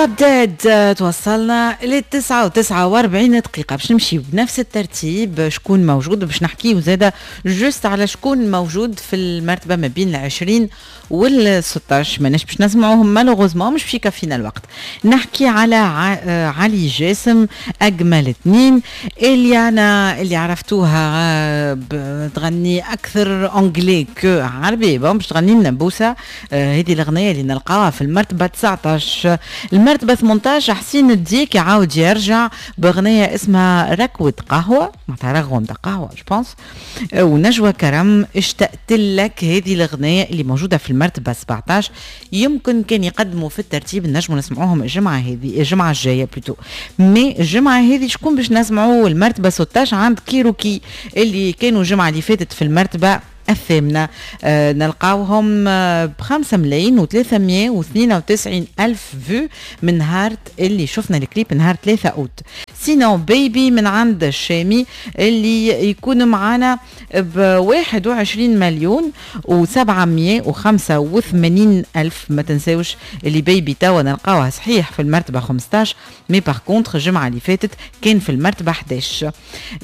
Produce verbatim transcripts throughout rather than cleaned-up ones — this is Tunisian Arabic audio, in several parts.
بدات توصلنا للتسعة وتسعة وأربعين دقيقة. باش نمشي بنفس الترتيب شكون موجود، باش نحكيو زادة juste على شكون موجود في المرتبة ما بين العشرين والستاش. ماناش باش نسمعوهم malheureusement، مش باش يكفينا الوقت. نحكي على علي جاسم، أجمل اثنين، إليانا اللي عرفتوها تغني أكثر anglais que عربي، bon باش تغني لنا بوسة، هذه الأغنية اللي نلقاوها في المرتبة تسعطاش. المرتبة ثمنطاش حسين الديك يعاود يرجع بأغنية اسمها ركوة قهوة، معناتها رغوة نتاع قهوة je pense. ونجوى كرم اشتقت لك، هذه الأغنية اللي موجودة في المرتبة سبعطاش. يمكن كان يقدموا في الترتيب نجموا نسمعوهم الجمعة هذه، الجمعة الجاية plutôt. mais الجمعة هذه شكون باش نسمعوا؟ المرتبة ستاش عند كيروكي اللي كانوا الجمعة اللي فاتت في المرتبة الثامنة. آه نلقاوهم آه بخمسة ملايين وثلاثمية واثنين وتسعين ألف vues من نهار اللي شفنا الكليب نهار ثلاثة أوت. sinon بيبي من عند الشامي اللي يكون معانا بواحد وعشرين مليون وسبعمية وخمسة وثمانين ألف. ما تنساوش اللي بيبي توا نلقاوها صحيح في المرتبة خمستاش، mais par contre الجمعة اللي فاتت كان في المرتبة حداش.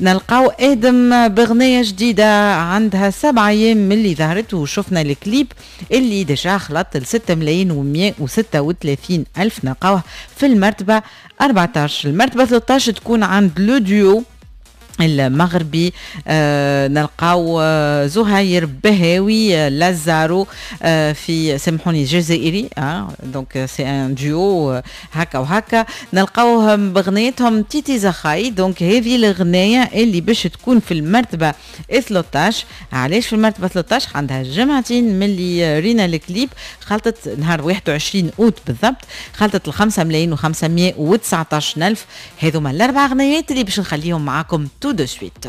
نلقاو آدم بغنية جديدة عندها سبعة أيام من اللي ظهرت وشفنا الكليب اللي déjà خلط ل ستة ملايين ومية وستة وثلاثين ألف، نلقاوه في المرتبة أربعتاش. المرتبة ثلاثطاش تكون عند le duo المغربي، آه نلقاو آه زهير بهاوي آه لازارو آه في، سامحوني، جزائري، آه donc c'est un duo هكا وهكا. نلقاوهم بغنيتهم تيتي زخاي، donc هذه الغنايه اللي باش تكون في المرتبة ثلاثطاش. علاش في المرتبة ثلاثطاش؟ عندها جمعتين من اللي رينا الكليب، خلطت نهار واحد وعشرين اوت بالضبط، خلطت الخمسة ملايين وخمسمية وتسعطاش الف. هذوما الاربع غنيات اللي باش نخليهم معاكم tout de suite.